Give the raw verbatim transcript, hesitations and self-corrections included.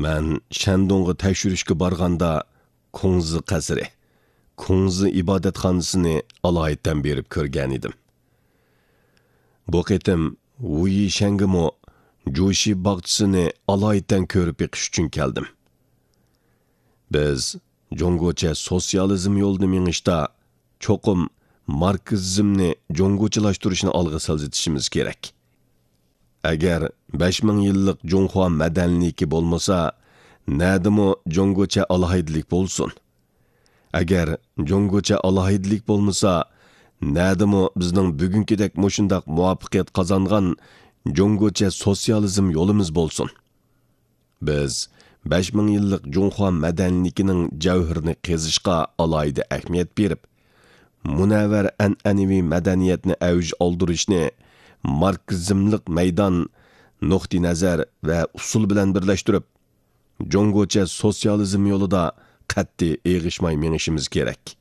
مەن شەندۇڭغا تەكشۈرۈشكە بارغاندا، كۇڭزى قەسرى، كۇڭزى ئىبادەتخانىسىنى ئالايىتەن بېرىپ كۆرگەنىدىم. بۇ قېتىم ۋۇيىشەنگىمۇ جۇشى باغچىسىنى ئالايىتەن كۆرۈپ بېقىش ئۈچۈن كەلدىم. بىز جۇڭگوچە سوتسىيالىزم يولىدا مېڭىشتا چوقۇم ماركسىزمنى جۇڭگوچىلاشتۇرۇشنى ئالغا سىلجىتىشىمىز كېرەك. ئەگەر بەش مىڭ يىللىق جۇڭخۇا مەدەنىيلىكى بولمىسا، نەدىمۇ جۇڭگوچە ئالاھىدىلىك بولسۇن؟ ئەگەر جۇڭگوچە ئالاھىدىلىك بولمىسا، نەدىمۇ بىزنىڭ بۈگۈنكىدەك مۇشۇنداق مۇۋەپپەقىيەت قازانغان جۇڭگوچە سوتسىيالىزم يولىمىز بولسۇن؟ بىز بەش مىڭ يىللىق جۇڭخۇا مەدەنىيلىكىنىڭ جەۋھىرىنى قېزىشقا ئالاھىدە ئەھمىيەت بېرىپ، مۇنەۋۋەر ئەنئەنىۋى مەدەنىيەتنى ئەۋج ئالدۇرۇشنى ماركسىزملىق مەيدان، نۇقتىئىنەزەر ۋە ئۇسۇل بىلەن بىرلەشتۈرۈپ، جۇڭگوچە سوتسىيالىزم يولىدا قەتئىي ئېغىشماي مېڭىشىمىز كېرەك.